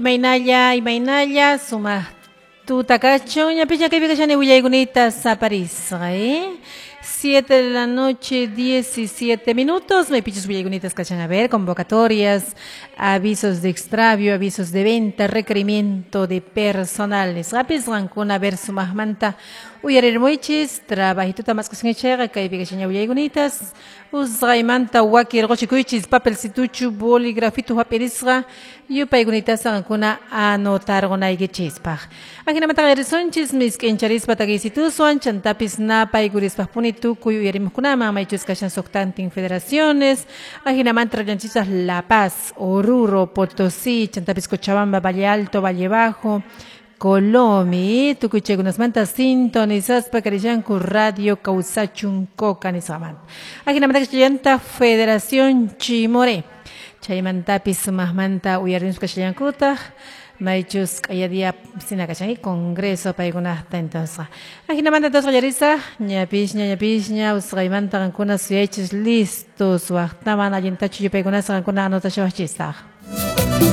Imaynalla, imaynalla, sumaq tuta kachun, ñapicha kaypi kashani willaykunita saparisqa, ¿eh? 7 de la noche, 17 minutos. Maypichus willaykunatas kachan a ver, convocatorias, avisos de extravio, avisos de venta, requerimiento de personal. Nisqapis qankuna ver sumaqmanta uyarirmuychis, trabajituta mask'asqanchayqa kaypi kashaña willaykunatas. Usqaymanta wakirquchikuychis papelcituchu, bolígrafitu hap'irisqa yupaykunitasa qankuna anotarqunaykichispaq. Ajinamanta qallarisunchis misk'incharispa takiysituswan chantapis napaykurispa tukuy uyarimuqkunaman maychus kashan suqtantin federaciones, ajinamanta rallanchisas La Paz, Oruro, Potosí, chantapis Cochabamba, Valle Alto, Valle Bajo, Colomi, tukuy chaykunasmanta sintonizaspa karishanku Radio Kawsachun Coca nisqamanta. Ajinamanta kashallanta Federación Chimoré. Chaymantapis sumaqmanta uyarimuspa kashallankutaq maychus q'ayadia sina kashan congreso paykunaqta entonces. Ajinamanta entonces qallarisaq ñapisña ñapisña usqaymanta qankuna suyaychis listos waqtaman allintachu yupaykunasqa qankuna anotashawaqchisaq.